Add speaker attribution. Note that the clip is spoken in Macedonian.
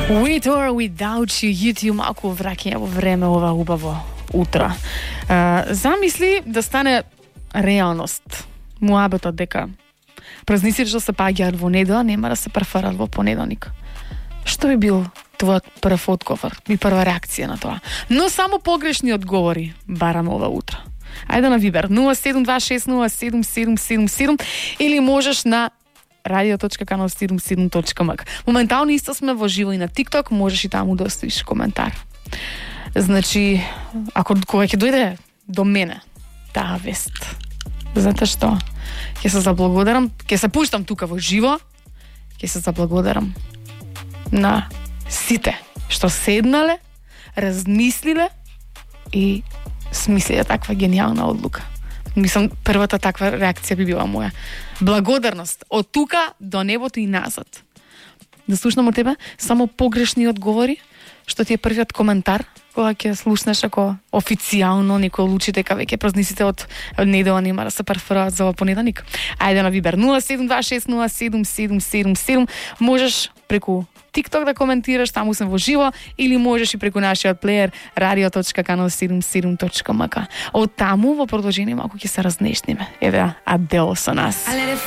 Speaker 1: With or without you, YouTube малку враќање во време ова убаво утро. Замисли да стане реалност муабетот дека празниците што се паѓаат во недела нема да се префарат во понеделник. Што би бил твојот прв одговор и прва реакција на тоа? Но само погрешни одговори бараме ова утро. Ајде на Вибер 0726077777 или можеш на radio.canal77.mk. Моментално исто сме во живо и на TikTok, можеш и таму да оставиш коментар. Значи, ако кога ќе дојде до мене таа вест, знаете што? Ќе се заблагодарам, ќе се пуштам тука во живо, ќе се заблагодарам на сите што седнале, размислиле и смислиле таква гениална одлука. Мислам, првата таква реакција би била моја. Благодарност од тука до небото и назад. Да слушнам од тебе само погрешни одговори, што ти е првиот коментар кога ќе слушнеш ако официјално некој одлучи дека веќе празниците од недела нема да се преферуваат за понеделник. Ајде на Вибер 0726077777. Можеш преку TikTok да коментираш, таму сме во живо, или можеш и преку нашиот плеер radio.canal77.mk. Од таму во продолжение малку ќе се разнешниме. Еве Адел со нас.